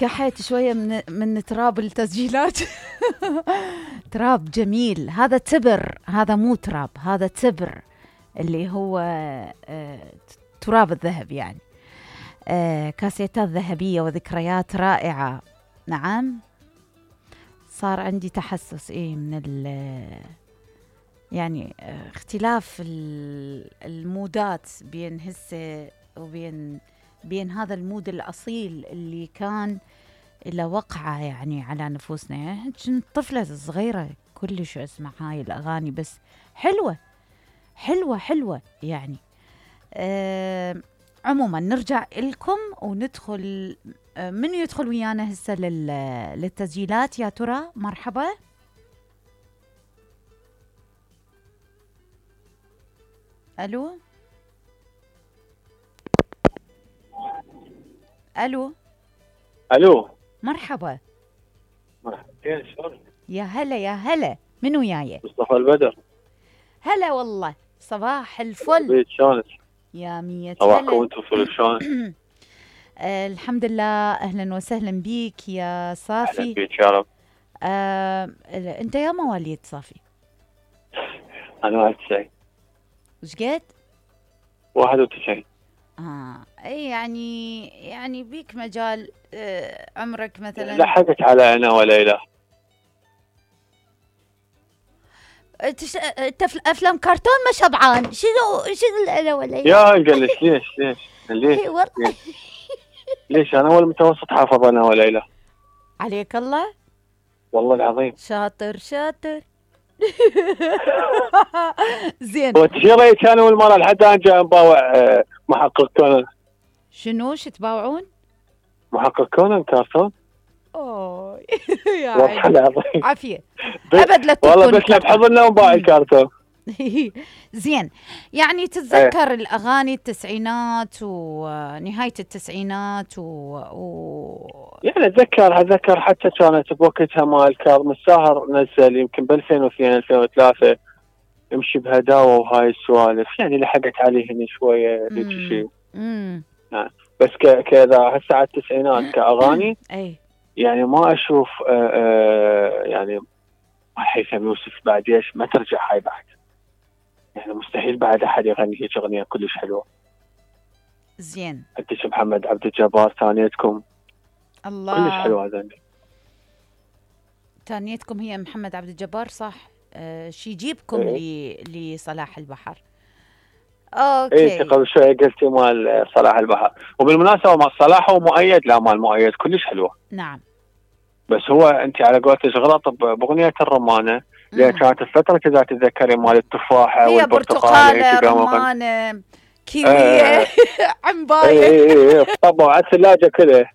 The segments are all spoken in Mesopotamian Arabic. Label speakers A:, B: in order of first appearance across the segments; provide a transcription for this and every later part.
A: قحيت شوية من تراب التسجيلات. تراب جميل، هذا تبر، هذا مو تراب، هذا تبر اللي هو تراب الذهب يعني. كاسيتات ذهبية وذكريات رائعة. نعم، صار عندي تحسس من يعني اختلاف المودات بين هسه بين هذا المود الأصيل اللي كان له وقعة يعني على نفوسنا. يعني كنت طفلة صغيرة كلش اسمع هاي الأغاني، بس حلوة حلوة حلوة يعني. عموما نرجع لكم وندخل. من يدخل ويانا هسه للتسجيلات يا ترى؟ مرحبا. الو الو
B: الو،
A: مرحبا.
B: مرحبتين، شلونك؟
A: يا هلا يا هلا، من وياي؟
B: مصطفى البدر.
A: هلا والله، صباح الفل.
B: شلونك؟
A: يا مية هلا.
B: صباحكم وانتم فل، شلونك؟
A: الحمد لله، اهلا وسهلا بيك يا صافي.
B: اهلا بيك يا رب.
A: انت يا مواليد صافي؟
B: انا 91.
A: وش قد؟
B: 91.
A: اي يعني بيك مجال. عمرك مثلا
B: لحقت على انا وليلى.
A: انت افلام كرتون ما شبعان. شنو انا وليلى؟
B: يا قلش ليش ليش انا اول متوسط حافظ انا وليلى.
A: عليك الله،
B: والله العظيم.
A: شاطر. زين.
B: وتشيري كانوا المره لحد الان جاي نباوع محقق كونان.
A: شنو تباوعون؟
B: محقق كونان كرتون.
A: اوه
B: يا والله العظيم
A: عافيه. ابد لا تكون
B: والله، بس بحضرنا ونباع الكرتون.
A: زين، يعني تتذكر الاغاني التسعينات ونهايه التسعينات
B: يعني اتذكر حتى كانت بوقتها مال كاظم الساهر نزل يمكن ب 2002 2003 يمشي بهداوه وهاي السوالف، يعني لحقت عليه هنا شويه هيك شيء. بس كذا هسه على التسعينات كاغاني
A: اي
B: يعني ما اشوف يعني هيثم يوسف بعد ايش ما ترجع هاي بعد، يعني مستحيل بعد احد يغني هيك اغنيه كلش حلوه.
A: زين.
B: عندك محمد عبد الجبار، ثانيتكم
A: الله
B: كلش حلوه هذا.
A: ثانيتكم هي محمد عبد الجبار صح. شي يجيبكم لصلاح البحر. اوكي.
B: انت قبل شوي قلتي مال صلاح البحر، وبالمناسبه مال صلاح هو مؤيد، لا مال مؤيد كلش حلوه.
A: نعم.
B: بس هو انت على قولتك غلط باغنيه الرمانه، لان كانت الفتره كذا تتذكري مال التفاحه
A: هي
B: والبرتقاله
A: رمانه كيويه عنبايه.
B: اي طبعا على الثلاجه كذا.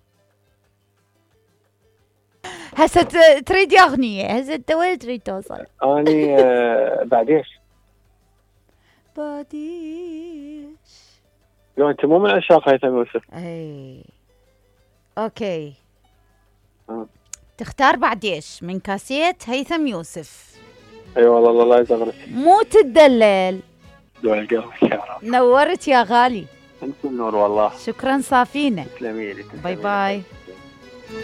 A: هسه تريد يا اغنيه، هسه انت وين تريد توصل؟
B: اني بعد ايش؟ لو انت مو من عشاق هيثم يوسف.
A: اي اوكي. تختار بعد ايش من كاسيت هيثم يوسف؟
B: اي والله الله يزغرك.
A: مو تدلل.
B: دول قلبك يا رب.
A: نورت يا غالي.
B: انت النور والله.
A: شكرا صافينا.
B: تسلمي لي.
A: باي باي.